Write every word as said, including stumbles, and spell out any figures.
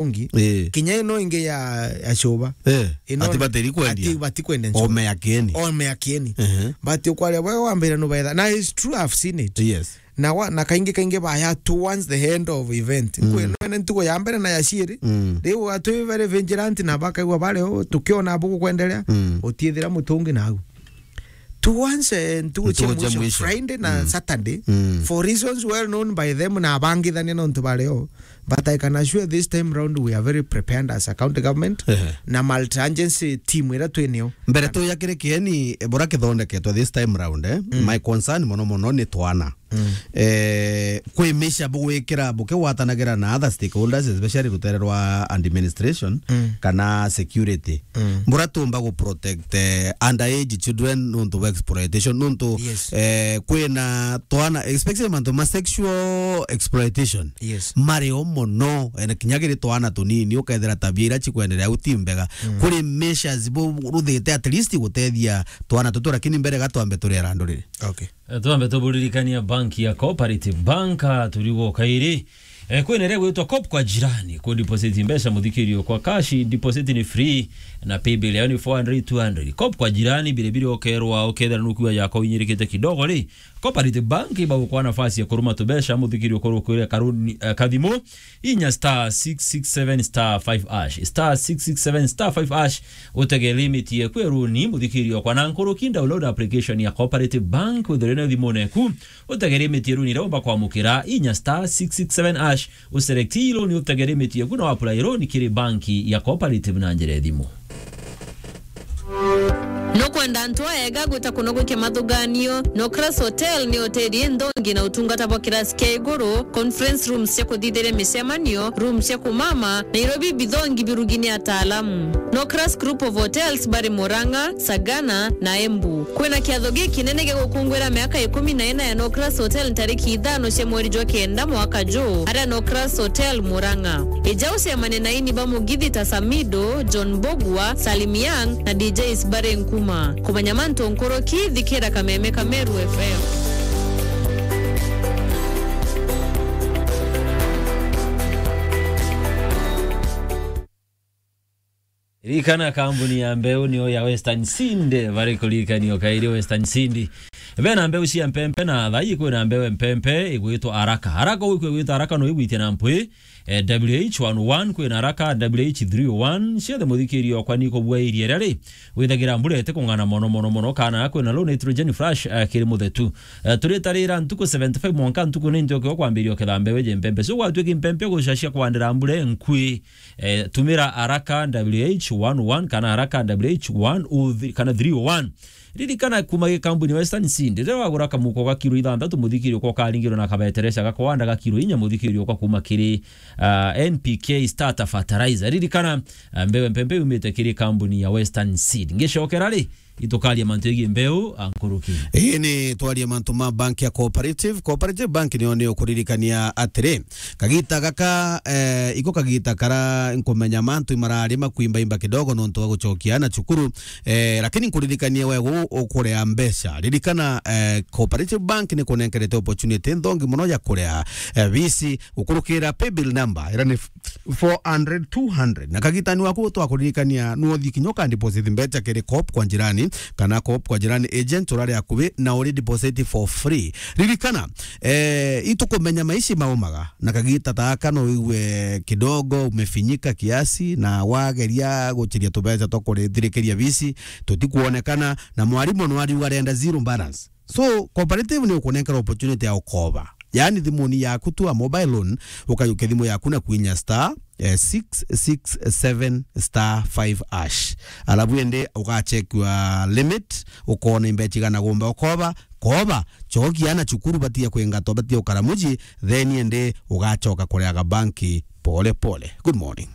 ungi. Eh. Kinya ino ingi ya, ya cuba. Eh. Ino ati batiri kwendia. Ati bati kwendia cuba. Ome ya kieni. Ome ya kieni. Ehe. But ukwaria bwe wambira nubaetha. Na it's true, I've seen it. Yes. Na wa, na kaingi kaingi baya towards the end of event. Mm. Kwe, nene ntugo ya mbere na ya ciiri. Mm. Riu atwi very vigilant na bakaigua bari o, tukiona bugu kwendelea, mm, utiethira mutungi nau. Towards, eh, ntugu cia mwisho, Friday na, mm, Saturday, mm, for reasons well known by them na abangithania nontu bari o. But I can assure this time round we are very prepared as a county government, ehe, na multi-agency team ira twinio. Mbere tu ya kiri kieni, eh, bura kithondeketwe this time round, eh? Mm. My concern mono mono ni twana. Mm. Eh, kwi misha bugwikira bukigwatanagira na other stakeholders, especially rutere rwa administration, mm, kana security. Mm. Bura tumba gu protect, eh, underage children nuntu bwa exploitation, nuntu, yes, eh, kwina twana, especially mantu ma sexual exploitation. Yes. Mari o mono, eh, na kinya kiri twana tunini, ukethira tabia ira cikwenderea au ti mbega. Mm. Kuri measures bu ruthite at least gutethia twana tutu, lakini mbere ga twambe turi arandurire. Okay. Eh, twambe tuburirikania bank ya Cooperative Bank, ah, turigwo kairi. Eh, kwina iria gwitwa Coop kwa Jirani, ku deposit mbeca muthikirio kwa cash, deposit ni free, na paybill yao ni four hundred, two hundred. Coop kwa Jirani, bire bire ukerwa, ukethira nukua yako inyirikite kidogo ri, Cooperative Bank ibagukwa nafasi ya kuruma tubeca muthikirio kurukwire karuni, eh, kathimu, inya star six six seven star five hash, star six six seven star five hash, utege limit yeku ya runi muthikirio kwa na nkuruki, download application ya Cooperative Bank withire na thimune ku, utege limit ya runi iria umba kwamukira, inya star six six seven hash, uselect loan, utege limit yeku na wapply loan kiri banki ya Cooperative na njira ya thimu. Nukwenda antu aega gwita kunogokia mathuganio? Nocras Hotel ni hoteli inthongi na utungata bwa kirasi kia iguru, conference rooms cia kuthithiria micemanio, rooms cia kumama, na irio bibithongi birugini ataalamu. Nocras Group of Hotels bari Murang'a, Sagana na Embu. Kwina kiatho gikinene gia gukungwira miaka ikumi na ina ya Nocras Hotel ntariki ithano cia mweri jwa kenda mwaka juu, aria Nocras Hotel Murang'a. Ija ucemane na ini ba mugithi ta Samido, John Bogwa, Salim Young na D Js bari nkuma. Kumenya mantu nkuruki, thikira Kameme ka Meru F M. Ririkana kambuni ya mbeu niyo ya Western Seed, bari kuririkania o kairi Western Seed. Bena mbeu cia mpempe na thai kwina mbeu mpempe igwitwa Araka. Araka uyu kwigwitwa Araka no igwitia na mpwi, eh, W H one oh one kwina Araka, W H three oh one, ciothe muthikirio okwa ni kubua iria ria ri, withagira mbura ite kung'ana mono, mono, mono, kana kwina low nitrogen flash, eh, kiri muthetu. Eh, turitarira ntuku seventy-five mwanka ntuku ninety ukiwa kwambiria uketha mbeu iji mpempe. So gwatuika mpempe gucacia kwandira mbura nkui, eh, tumira Araka W H one oh one kana Araka W H one oh three kana three oh one. Ririkana kuma gikambuni Western Seed, riria wagura kamuko ga kiro ithanthatu muthikirio kwa karingiro na kabetereca ga kwanda ga kiro inya muthikirio kwa kuma kiri, ah, N P K starter fertilizer. Ririkana, ah, mbeu mpempe yumite kiri kambuni ya Western Seed. Ngicokera ri, itukaria mantu yegii mbeu, ah, nkuruki. Ii ni twaria mantu ma bank ya Cooperative. Cooperative Bank niyo ni ukuririkania atiri, kagita gaka, eh, iko kagita kara nkumenya mantu marari makuimbaimba kidogo nontu wa gucokia na cukuru, eh, lakini nkuririkania we gu ukurea mbeca. Ririkana, eh, Cooperative Bank ni kunenkerete opportunity nthongi muno ya kurea, eh, bisi gukurukira paybill number, ira ni four hundred, two hundred. Na kagitani waku twakuririkania, nuthi kinya uka deposit mbeca kiri Coop kwa Jirani, kana Coop kwa Jirani agent urari akubi na uri deposit for free. Ririkana, eh, itukumenya maici maumaga, na kagita taka no wigue kidogo umefinyika kiasi, na wageria guchiria tubeca twa kurithirikiria bisi, tutikuonekana, na mwarimu no ariuga arenda zero balance. So, Cooperative ni ukunenkera opportunity ya ukoba. Yaani, thimuni yaku tu, a mobile loan, ukayukia thimu yaku na kwinya star, eh, six six seven star five hash. Alafu ende ugachekiwa limit, ukona imbecha igana gumba ukoba, koba, chokia na cukuru batia kwingatwa, batia ukara muji, then ende ugachoka kureaga banki pole pole. Good morning.